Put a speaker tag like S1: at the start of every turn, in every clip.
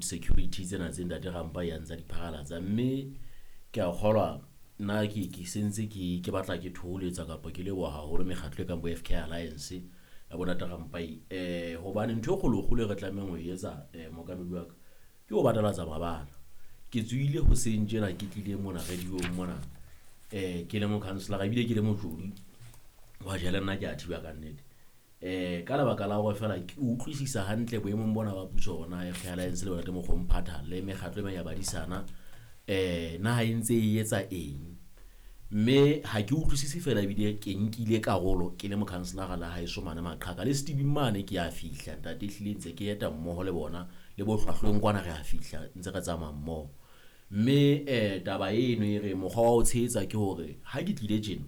S1: food security tsena tse Ntate Rampa ya ntsa di pharalatsa, mme ke a kgolwa nna ke sentse ke batla ke thoholetsa kapa ke leboha haholo mekgatlo e kang bo FK Alliance ya bo Ntate Rampai, hobane ntho e kgolo-kgolo e re tlamehang ho e etsa, mookamedi wa ka, ke ho batalatsa mabala. Ke tswile hoseng tjena ke tlile mona radio-ng mona, ke le mokhanselara ebile ke le motjodi wa jele, nna ke a thiba ka nnete. Ka lebaka la hore fela ke utlwisisa hantle boemong bona ba puso ona FK Alliance le bona Ntate Mokgomphatha le mekgatlo e meng ya badisana, naha e ntse e etsa eng, mme ha ke utlwisise fela ebile ke nkile karolo ke le mokhanselara la haeso mane Maqhaka le Stevie mane ke a fihla ntate, ehlile ntse ke eta mmoho le bona le bo hlwahlweng kwana re a fihla ntse re tsamaya mmoho. Mme taba eno e re mokgwa wa ho tshehetsa ke hore ha ke tlile tjena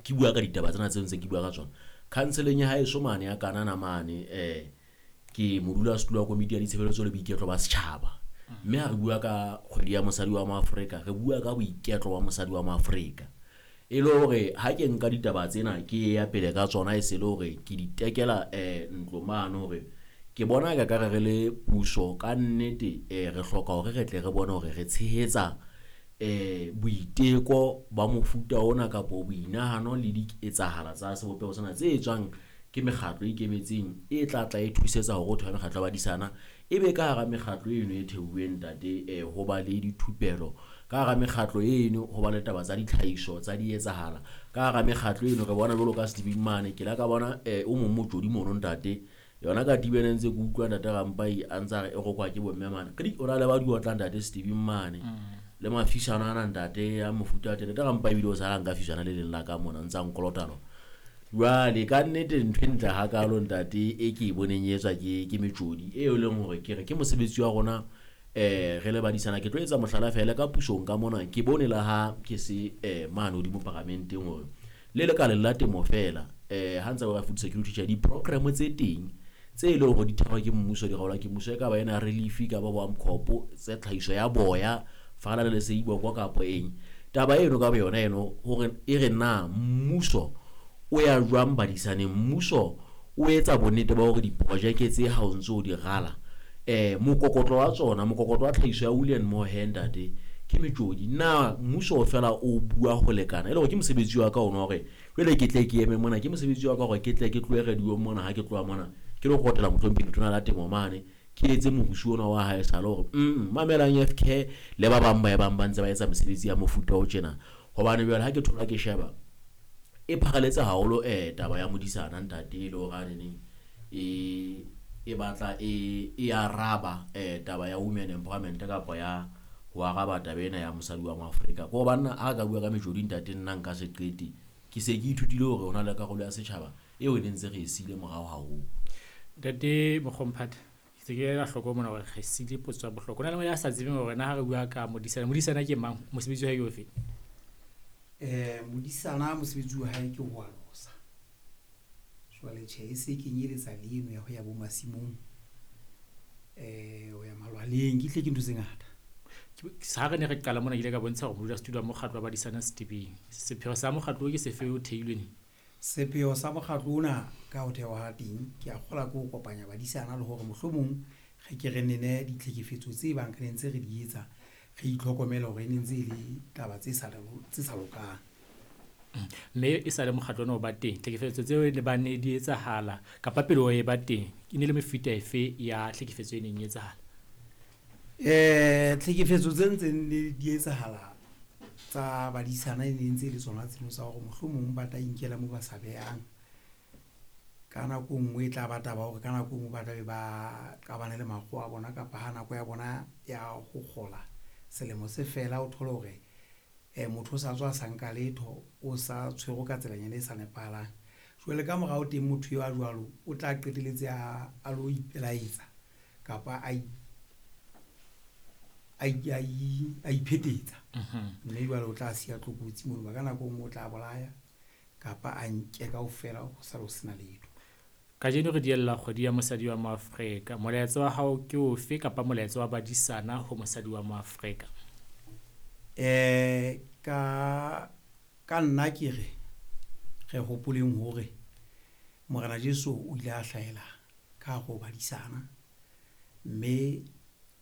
S1: ke bua ka ditaba tsena tseo ntse ke bua ka tsona khanseleng ya haeso mane ya Kanana mane, ke modulasetulo wa komiti ya ditshebeletso le boiketlo ba setjhaba, mme ha re bua ka kgwedi ya mosadi wa Moafrika re bua ka boiketlo wa mosadi wa Moafrika, e le hore ha ke nka ditaba tsena ke ya pele ka tsona, e se le hore ke di tekela ntlo mane hore ke bona ka re re le puso ka nnete, re hloka hore re tle re bone hore re tshehetsa boiteko ba mofuta ona kapo boinahano le diketsahala tsa sebopeho sena tse etswang ke mekgatlo e ikemetseng e tla tla e thusetsa hore ho thehwe mekgatlo ya badisana, e be ka hara mekgatlo eno e theuweng ntate, ho ba le dithupelo ka hara mekgatlo eno, ho ba le taba tsa ditlhahiso tsa dietsahala ka hara mekgatlo eno. Re bona jwalo ka Stevie mane, ke la ka bona o mong motjodi mono ntate, yona ka tibene ntse ke utlwa Ntate Rampai a ntsa re e rokwa ke bomme mane, kedi o na le ba di otlang Ntate Stevie mane le mafisana ana ntate ya mofuta wa teng. Ntate Rampai ebile o sala nka fisana le leng la ka mona ntsa nkolota lona. Jwale ka nnete ntho e ntle hakalo ntate e ke e boneng e etswa ke metjodi e leng hore ke re ke mosebetsi wa rona, re le badisana. Ke tlo etsa mohlala fela ka pusong ka mona, ke bone la ha ke se mane hodimo paramenteng hore le lekaleng la temo fela, ha ntse ba food security tjhe di-program tse teng tse e leng hore di thehwa ke mmuso, di ralwa ke mmuso, e ka ba ena relief, e ka ba bo Amcoop, tse tlhahiso ya boya fala le seiboko kapo eng. Taba eno ka boyona eno hore e re na mmuso o ya jwang badisaneng, mmuso o etsa bonnete ba hore diprojeke tse ha o ntso o di rala, mokokotlo wa tsona, mokokotlo wa tlhahiso ya wool and mohair ntate ke metjodi, na mmuso fela o bua ho lekana, e le hore ke mosebetsi wa ka ona hore jwale ke tle ke eme mona, ke mosebetsi wa ka hore ke tle ke tlohe radio mona, ha ke tloha mona ke lo kgotela mohlomphehi letona la temo mane, ke etse morusu ona wa hae sale hore mamelang FK le ba bang ba e bang ba ntse ba etsa mesebetsi ya mofuta o tjena. Hobane jwale ha ke thola ke sheba e pharaletse haholo, taba ya modisana ntate e le hore a neneng e batla e araba taba ya women empowerment kapa ya ho araba taba ena ya mosadi wa Moafrika. Ko banna ha ka bua ka metjodi ntate nna nka se qete, ke se ke ithutile hore hona le karolo ya setjhaba eo e ne ntse re e siile morao haholo.
S2: Ntate Mokgomphatha, ke ke la hloko mona hore re siile potso ya bohlokwa. Hona le ya sa tsebeng hore na ha re bua ka modisana, modisana ke mang, mosebetsi wa hae ke ofe?
S3: Modisana mosebetsi wa hae ke ho alosa. Jwale tjhe e se kenyeletsa le eno ya ho ya bo masimong, ho ya malwaleng, ke hle ke ntho tse ngata.
S2: Ha re ne re qala mona ke ile ka bontsha hore modulasetulo wa mokgatlo wa badisana Setebeng. Sepheo sa mokgatlo o ke sefe o theilwe neng?
S3: Sepheo sa mokgatlo ona ka ho thewa ha teng, ke a kgolwa ke ho kopanya badisana le hore mohlomong re ke re nene ditlhekefetso tse bang re ne ntse re di etsa, re itlhokomele hore e ne ntse e le taba tse sa lokang.
S2: Mme e sa le mokgatlo ona o ba teng, tlhekefetso tseo ne ba ne di etsahala kapa pele o e ba teng, e ne le mefuta efe ya tlhekefetso e neng e etsahala?
S3: Tlhekefetso tse ntseng di etsahala tsa badisana e ne ntse le tsona tseno tsa hore mohlomong ba tla inkela moo ba sa behang. Ka nako nngwe e tla ba taba hore ka nako nngwe ba tla be ba qabane le makgowa a bona kapa ha nako ya bona ya ho kgola selemo se fela, o thole hore motho o sa tswa sa nka letho, o sa tshwerwe ka tselanyana e sa nepahalang. Jwale ka morao teng motho eo a jwalo o tla qetelletse a lo ipelaetsa kapa a iphetetsa. Mme jwale o tla siya tlokotsi mono, ka nako nngwe o tla bolaya kapa a nke kaofela ho sale ho sena letho.
S2: Kajeno re diella kgwedi ya mosadi wa Moafrika. Molaetsa wa hao ke ofe kapa molaetsa wa badisana ho mosadi wa Moafrika?
S3: Ka nna ke re re hopoleng hore Morena Jesu o ile a hlahela ka hare ho badisana, mme